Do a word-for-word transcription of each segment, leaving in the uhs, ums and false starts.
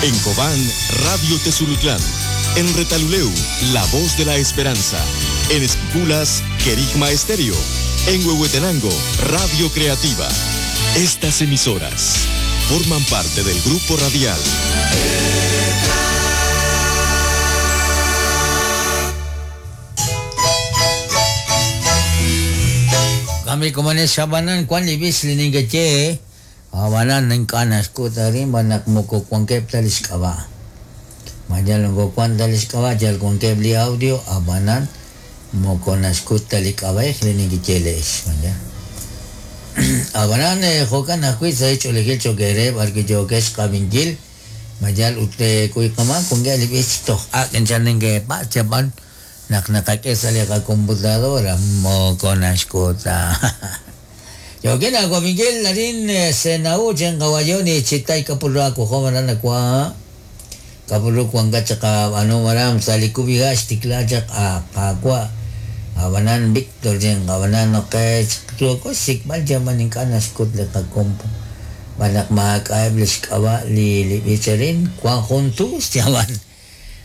En Cobán, Radio Tezulutlán. En Retaluleu, La Voz de la Esperanza. En Esquipulas, Querigma Estéreo. En Huehuetenango, Radio Creativa. Estas emisoras forman parte del grupo radial Kami kumanes sabanan kwan libis liningache awanan ng kanas ko tarin banak mo ko kwan kep talis kaba majalan ko kwan talis kaba jal kwan kep li audio abanan mo ko naskut talik kaba liningache les manja abanan jokan akui sa hecho legil chokere barki jokes kabingil majal ute kuy kama kung libis toh akin chan nge pa chaban nak nakakesa li computadora mo ko naskuta. Yo kina ko Miguel Larín Senau chen kawayoni chitay kapuro ako homaran akwa kapuro kuang ka ano maram salikubigas tiklajak akwa abanan Victor chen kawanan okay ko sikmal jaman ing kanaskut le kakompo banak makaibles kawa li li bicharin kuang juntus jaman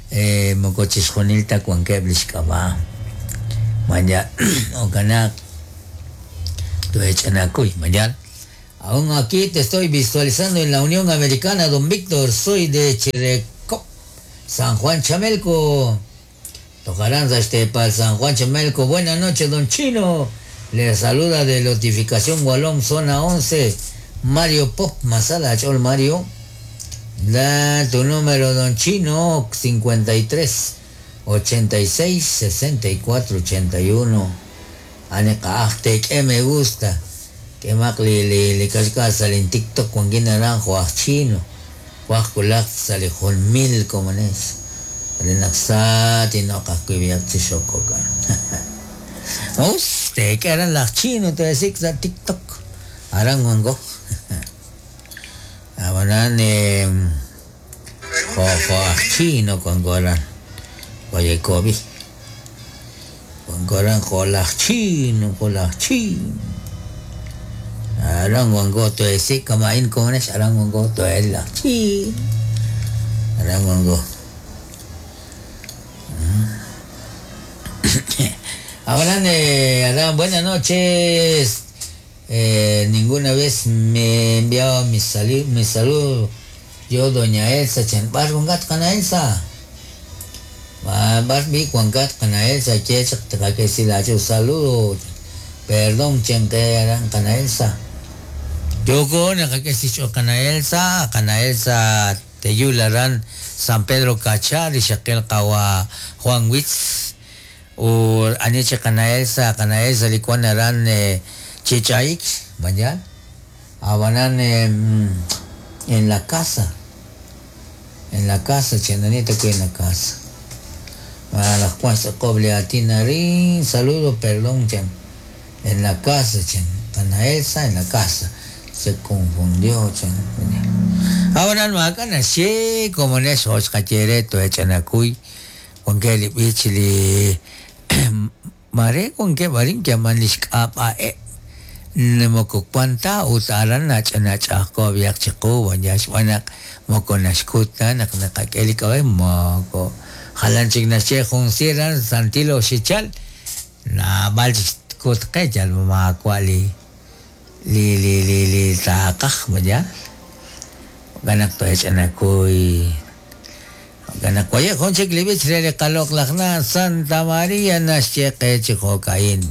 eh mokochis jonilta kuang kebles kawa manya okanak Aún aquí te estoy visualizando en la Unión Americana, don Víctor. Soy de Chirecop, San Juan Chamelco. Tocarán este para San Juan Chamelco. Buenas noches, don Chino. Le saluda de Notificación Gualón, zona once. Mario Pop Masada, Chol Mario. Da tu número, don Chino, cincuenta y tres, ochenta y seis, sesenta y cuatro, ochenta y uno. Ane que me gusta que mak li li li kasika salen TikTok con quien naranjo a chino huajkulak sale jón mil como es renaxati no kaskuibiak chishokokan usted que eran las chino te decís a TikTok arangongo abanan eh jo jo chino con goran oye kobi Goran jolas chino, jolas chino. Arangongo to ese kamain kones arangongo to el chino. Arangongo. Ahora eh, buenas noches. Eh, ninguna vez me enviaba mi sali mi saludo. Yo doña Elsa chen bargongat kana Elsa. Bas mi cuancat cana Elsa che que si la yo saludo. Perdón chen que eran cana Elsa. Yo con que si yo cana Elsa, cana Elsa Teyularan San Pedro Cachar y Shaquel Kawa Juan Witz o aniche cana Elsa, cana Elsa licuanaran eh, Chichaix, mañana, abanan eh, en la casa, en la casa, chenanita que en la casa. A las cuantas coble a Tinarín, saludo, perdón, chen, en la casa, chen, cana Elsa en la casa, se confundió, chen. Ahora no acá sí, como en eso, oscachereto, echanacuy, con que le pichili, mare con que varín que aman eh. Nmokukwanta utaran nach nach ako biak chiku wanyas wanak moko nashkuta nak nakakeli kawe moko halan chik nashe junsiran santilo shichal na bal kut kejal makwali li li li li takah manya ganak to echanakuy ganak koye konchik libich rele kalok lakna Santa María nashe kechikokain.